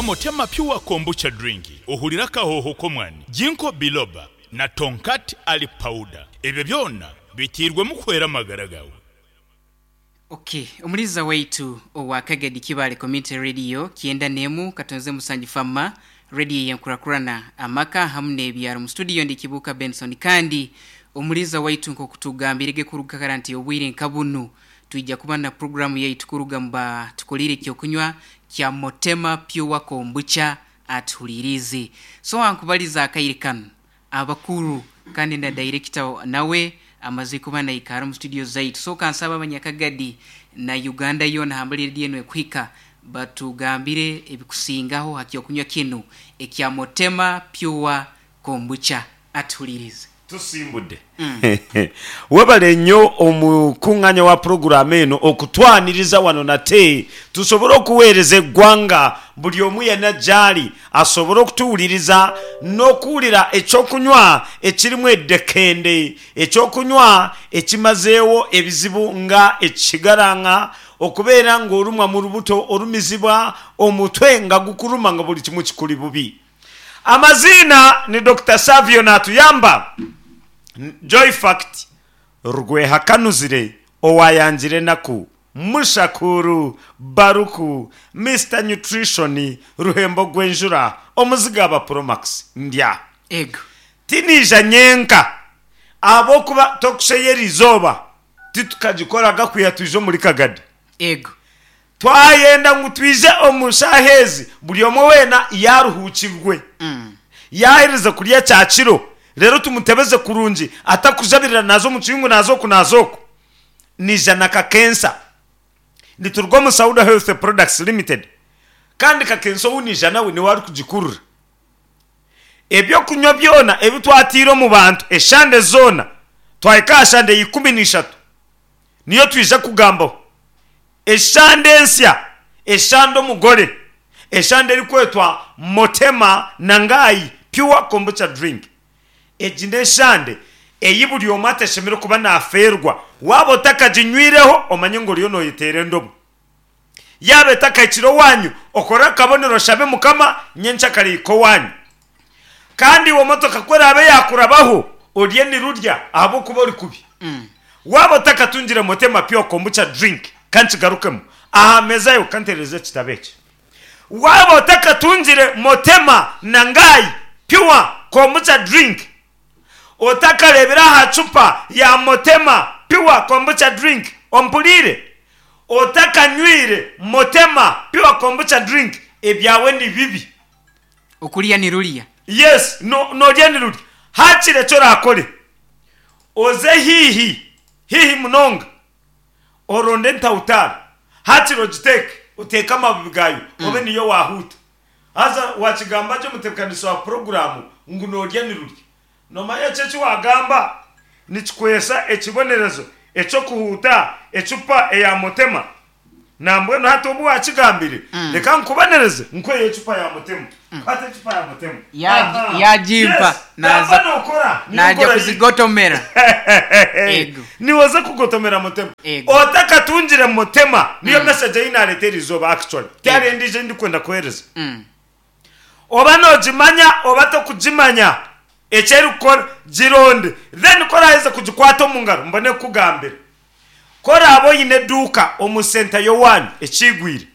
Motema Pure Kombucha Drink ohurire akahooho k'omwani, Ginkgo Biloba na Tongkat Ali Powder. Ebyo byona biteirwemu kuhwera amagara gaawe. Ok, omuliza waitu owa Kagadi Kibaale Community Radio kyenda n'emu katonze musanju Fama Radio eyenkurakurana amaka hamu n'ebyaro mu studio ndi Kibuuka Benson kandi omuliza waitu nk'okutugambire ge kuruga kara nti obwire nka bunu twija kuba na puroguramu yaitu kuruga mu ba tukolire ekyokunywa kya Motema Pure Kombucha atuhuliriize. So ankubaliza akaire kanu abakuru kandi na director nawe amaze kuba naikara omu studio zaitu so kansaba abanyakagadi na Uganda yoona hambali radio enu ekuhika batugambire ebikusingaho ha kyokunywa kinu ekya Motema Pure Kombucha atuhulirize. Tusimbudde. Webale nnyo omukunganya wa pulogulaamu eno okutwaniriza wano nate tusobole okuweereza eggwanga buli omu yenna gyali asobole okutuwuliriza n'okuwulira ekyokunywa ekirimu eddekende, ekyokunywa ekimazeewo ebizibu nga ekigarang'a, okubeera ng'olumwa mu lubuto, olumizibwa, omutwe nga gukuluma nga buli kimu kikuli bubi. Amaziina ni Dokita Savio Natuyamba, Joyfact Rwehakanuzire owayangire enaku, Mushakuru Baruku, Mister Nutrition Ruhembo Gwenjura, Omuzigaba Promax Ndya. Ego. Tinaija nyenka ahabw'okuba tokusheya eriizooba titukagikoraga kwiha twija omuri Kagadi. Ego. Twayenda ngu twije omu shaaha ezi buri omwe weena yaaruhuukirwe, yaaherize kurya kyakiro, reero tumutebeze kurungi atarikujabirira naaza omu kiyungu naaza oku naaza oku. Naija na kakensa. Nituruga omu Sauda Health Products Limited kandi kakensa ou naija nawe niwe arikugikurura. Eby'okunywa byona ebi twataire omu bantu eshande zoona, twahika aha shande ya 13 niyo twija kugambaho. Eshande ensya, eshande omugore, eshande erikwetwa Motema Nangai Pure Kombucha Drink. Egi n'eshande ei buri omwe atashemereire kuba naafeerwa. Waaba otakaginywireho, omanye ngu oriyo nooyeteera endobo. Yaaba etakahikire owaanyu, okore akabonero oshabe Mukama nyenkyakare ehike owaanyu. Kandi iwe motoka ku eraabe yaakurabaho, orye nirurya ahabw'okuba ori kubi. Waaba otakatungire Motema Pure Kombucha Drink, ka nkigarukemu, aha meeza yaawe ka nteerereze ekitabo eki. Waaba otakatungire Motema Nangai Pure Kombucha Drink, otakareebire aha cupa ya Motema Pure Kombucha Drink, ompuriire? Otakanywire Motema Pure Kombucha Drink, ebyawe ni bibi. Okurya nirurya. Yes, no, norya nirurya. Hakiri eki oraakore, oze haihi, haihi munonga, oronde entawutaara, hakiri ogiteeke, oteeke amababi gaayo, obe niyo waahuuta. Haza waakigamba gye omutebeekanisa wa puroguraamu ngu noorya nirurya. Noomanya eki eki waagamba nikikwesa ekibonerezo eky'okuhuuta ecupa eya Motema? Nambwenu hati obu waakigambire, reka nkubonereze nkuheyo ecupa ya Motema. Kwata ecupa ya Motema. Aha. Yaagimpa, Yes, naaza gamba nookora, niyo naaja nkora yaitu. kuzigotomera. Ego. Niiwe oze kugotomera Motema. Ego. Otakatungire Motema, niyo message ei naareeta eriizooba actually. Tihariho endiijo ei ndikwenda kuheereza. Oba noogimanya oba tokugimanya, eki erikukora, gironde. Then ku oraaheze kugikwata omu ngaro, mbone kukugambira. Ku oraabe oine eduuka omu senta y'owaanyu ekiigwire,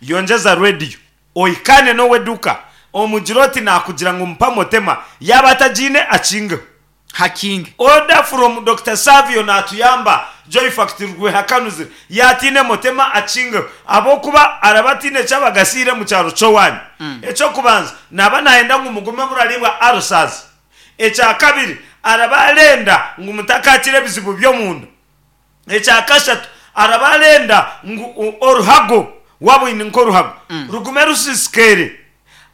yongyeza rediyo, ohikaane n'ow'eduuka omugire oti naakugira ngu mpa Motema, yaaba atagiine akingeho. Hakinge. Order from Dokita Savio natuyamba Joy Fact Rwehakanuzire yatiine Motema akingeho ahabwokuba araba atiine eki abagasiire omu kyaro kyowanyu. Ekyokubanza naba nayenda ngu mugume muraribwa ulcers. Ekyakabiri araba arenda ngu mutakakira ebizibu byomunda. Ekyakashatu araba arenda ngu oruhago waaba oine nk'oruhago rugume rusisikaire.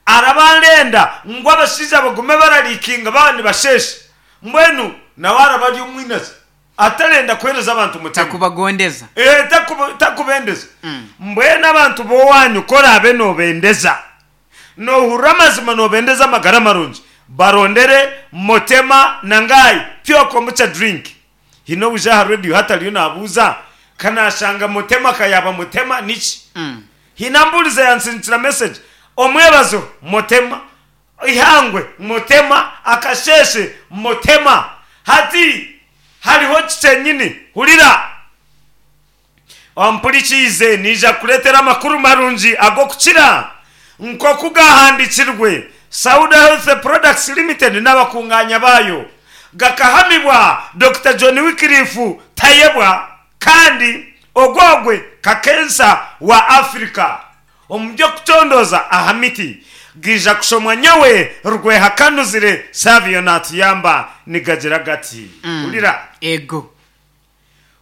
Araba arenda ngu abashaija bagume barariikinga baaba nibasheesha. Mbwenu nawe araba ari omwinazi atarenda kuheereza abantu mutima. Takubagondeza. Ee, takubendeza. Mbwenu abantu b'owaanyu ku oraabe noobendeza, noohurira amazima noobendeza amagara marungi, barondere Motema Nangai Pure Kombucha Drink. Haine obuja aha rediyo hati ariyo naabuuza, Ka naashanga Mutema ka yaaba Mutema niki? Haine ambuurize yansindikira message. Omwebazo, Motema. Eihangwe, Motema. Akasheeshe, Motema. Hati hariho ki kyenyini? Hurira! Ompurikiize, naija kukureetera amakuru marungi ag'okukira. Nk'oku gaahandiikirwe, Sauda Health Products Limited n'abakungaanya baayo gakahamibwa Dokita John Wycliffe Tayebwa kandi ogwo ogwe kakensa wa Africa omu by'okucondooza aha miti. Gaija kushomwa nyowe Rwehakanuzire Savio naatuyamba nigagira gati, Hurira! Ego.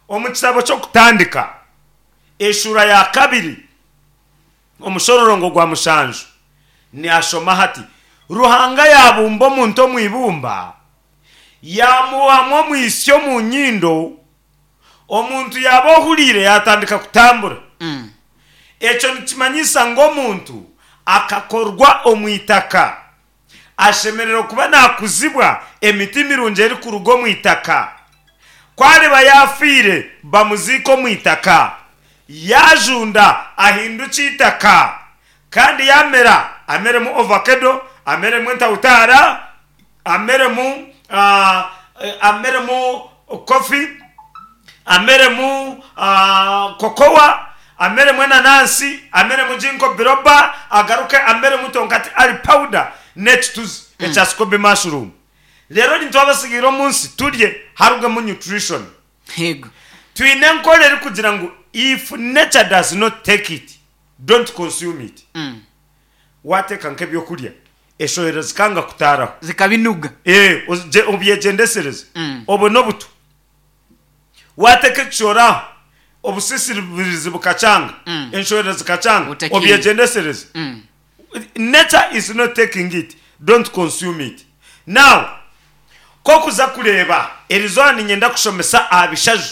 Omu kitabo ky'Okutandika, eshuura ya kabiri, omushororongo gwa mushanju, nihashoma hati, Ruhanga yaabumba omuntu omu ibumba, yaamuhamu omwitsyo omu nyindo, omuntu yaaba ohuriire yaatandika kutambura. Ekyo nikimanyisa ngu omuntu akakorwa omu itaka. Ashemereire kuba naakuzibwa emiti mirungi erikuruga omu itaka. Ku ariba yaafiire, bamuziike omu itaka. Yaajunda, ahindukye eitaka. Kandi yaamera, ameremu ovakedo, ameremu entawutaara, ameremu ameremu kofi, ameremu kokowa, ameremu enanansi, ameremu jinko biroba, agaruke ameremu tonkati ali pawuda n'ekituzi ekya sikobi mashurumu. Reero nitwe abasigaire omu nsi turye harugemu nutrition. Yego. Twine enkora erikugira ngu if nature does not take it, don't consume it. Waateeka nk'ebyokurya eshohera zikanga kutaaraho. Zikabinuga. Ee, obyegyendesereze obone obutu. Waateeka ekishooro aho, obusisirizi bukakyanga, enshohera zikakyanga, obyegyendesereze. Nature is not taking it, don't consume it. Now, ku okuza kureeba, erizooba niinyenda kushomesa aha bishaju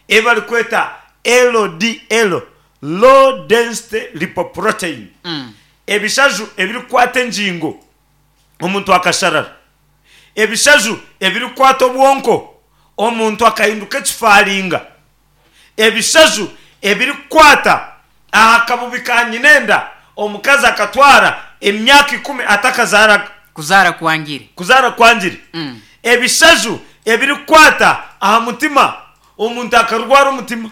ebi barikweta LDL, Low Density Lipoprotein. Ebishaju ebirikukwata engingo omuntu akasharara, ebishaju ebirikukwata obwonko omuntu akahinduka ekifaringa, ebishaju ebirikukwata aha kabubi ka nyinenda omukazi akatwara emyaka ikumi atakazaaraga. Kuzaara kwangire. Kuzaara kwangire. Ebishaju ebirikukwata aha mutima omuntu akarwara omutima.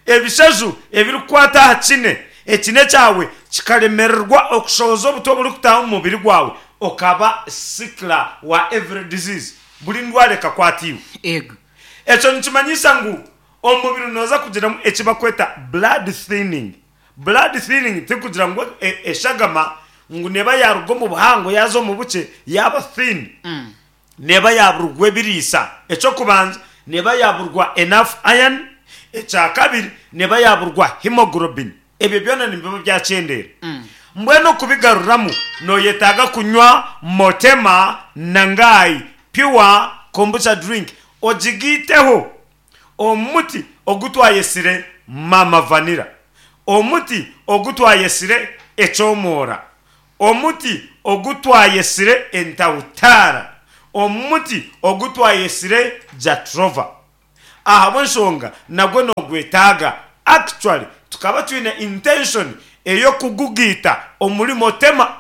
Ebishaju ebirikukwata aha kine, ekine kyawe kikaremererwa okushohoza obutwa oburikutaaha omu mubiri gwawe okaba sickler wa every disease, buri ndwara ekakwata iwe. Ego. Ekyo nikimanyisa ngu omu mubiri nooza kugiramu eki barikweta blood thinning. Blood thinning tikugira ngu eshagama ngu neeba yaaruga omu buhango yaaza omu bukye yaaba thin. Neeba yaaburwa ebiriisa. Eky'okubanza, neeba yaaburwa enough iron. Ekyakabiri, neeba yaaburwa hemoglobin. Ebyo byona nibiba byakyendeera. Mbwenu okubigaruramu, nooyetaaga kunywa Motema Nangai Pure Kombucha Drink ogigaiteho omuti ogu twayetsire Mama Vanilla, omuti ogu twayetsire Eky'omwoora, Omuti ogu twayetsire entautaara, omuti ogu twayetsire Jatropha. Ahabw'enshonga nagwo noogwetaaga. Actually tukaba twine intention ey'okugugaita omuri Motema.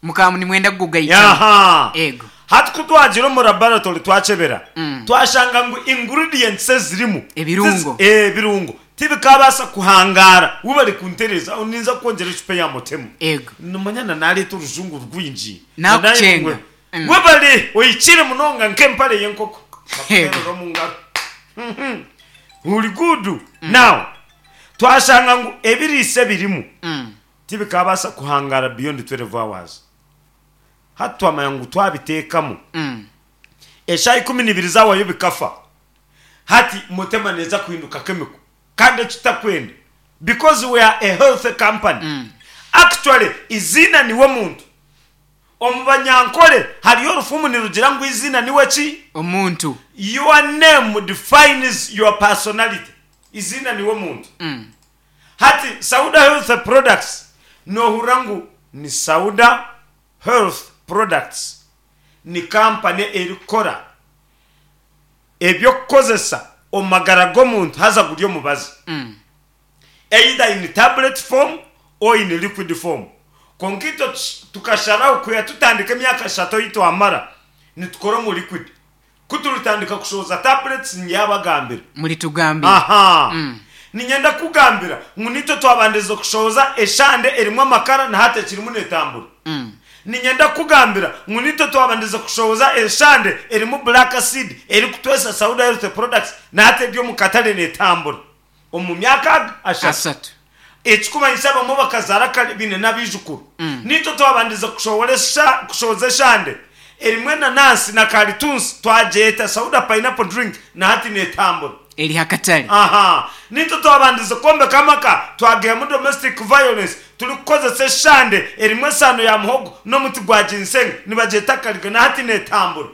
Mukaba nimwenda kugugaitamu. Aha. Eego. Hati ku twagiire omu laboratory twakyebera, twashanga ngu ingredients ezirimu, Ebirungo. ebirungo Tibikaabaasa kuhangaara. Webare kuntereeza. Aho ninza kukwongyera ecupa ya mutemu. Ego. Nomanya na naareeta orujungu rwingi. Naakucenga. Webare! Ohikire munonga nk'empare y'enkoko. Ego. Bakuteerera omu ngaro. Ori good. Now, twashanga ngu ebiriisa ebirimu tibikaabaasa kuhangaara beyond 12 hours. Hati twamanya ngu twabiteekamu, eshaaha 12 zaawayo bikafa. Hati Mutema neeza kuhinduka chemical kandi eki tutakwenda because we are a healthy company. Actually eiziina niwe muntu. Omu banyankore hariyo orufumu nirugira ngu eiziina niwe ki? Omuntu. Your name defines your personality. Eiziina niwe muntu. Hati Sauda Health Products nohurira ngu ni Sauda Health Products ni company erikukora eby'okukozesa omu magara g'omuntu haza guri omubazi, either in tablet form or in liquid form. Kwonka itwe tukasharaho kwiha tutandika emyaka eshatu ei twamara nitukora omu liquid. Ku turitandika kushohoza tablets ndyabagambira. Muritugambira. Aha. Niinyenda kukugambira ngu naitwe twabandize kushohoza eshande erimu amakara na hati ekirimu neetambura. Niinyenda kukugambira ngu naitwe twabandize kushohoza eshande erimu black seed erikutwesa Sauda Health Products na hati eri omu katare neetambura. Omu myaka aga ashatu. Asatu. Ekikumanyisa abamwe bakazaara kare baine n'abaijukuru. Naitwe twabandize kushohora kushohoza eshande erimu enanansi na karitunsi twagyeta Sauda Pineapple Drink na hati neetambura. Eri ha katare. Aha. Naitwe twabandize kwombeka amaka twageihamu domestic violence turikukozesa eshande erimu esaano ya muhogo n'omuti gwa ginseng nibagyeta kariga na hati neetambura.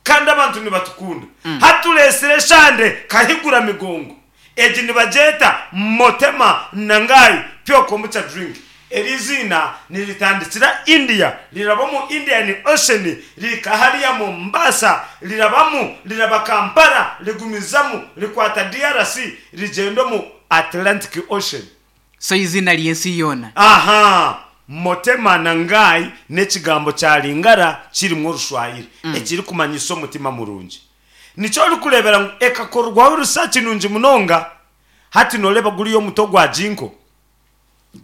Kandi abantu nibatukunda. Hati tureetsire eshande Kahigura Migongo. Egi nibagyeta Motema Nangai Pure Kombucha Drink. Eri eiziina niritandikira India, riraba omu Indian Ocean, rihika hariya Mombasa, rirabamu, riraba Kampala, rigumizamu, rikwata DRC, rigyenda omu Atlantic Ocean. So eiziina ry'ensi yoona. Aha! Motema na ngai n'ekigambo kya Lingala kirimu Orushwahiri ekirikumanyisa omutima murungi. Nikyo orikureebera ngu ekakorwaho research nungi munonga. Hati nooreeba guriya omuti ogwa ginkgo,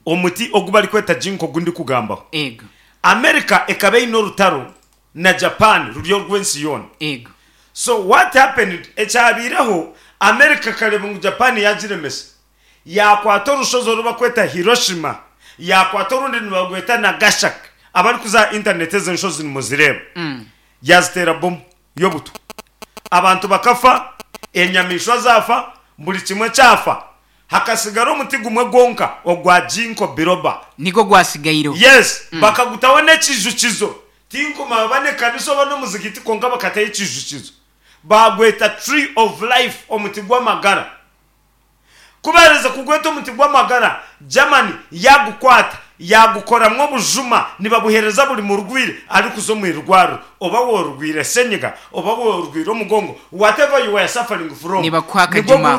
omuti ogu barikweta ginkgo ogu ndikugambaho. Ego. America ekaba eine orutaro na Japan ruri orw'ensi yoona. Ego. So what happened, ekyabaireho, America ekareeba ngu Japan yaagiremesa. Yaakwata orushozi oru barikweta Hiroshima, yaakwata orundi nibarweta Nagashaki, abarikuza aha intaneti ezo enshozi nimuzireeba, yaaziteera bomu y'obutwa. Abantu bakafa, enyamaishwa zaafa, buri kimwe kyafa, hakatsigara omuti gumwe gwonka ogwa Ginkgo biloba. Nigwo gwatsigaireho. Yes, bakagutaho n'ekiijukizo. Tinkumanya oba n'ekanisa oba n'omuzigiti kwonka bakataho ekiijukizo. Baagweta Tree of Life, omuti gw'amagara. Ku baaherize kugweta omuti gw'amagara, Germany yaagukwata yaagukoramu obujuma nibabuheereza buri murwaire arikuza omu irwariro. Oba worwaire senyiga, oba worwaire omugongo, whatever you were suffering from, Nibakuha nigwo akajuma ako.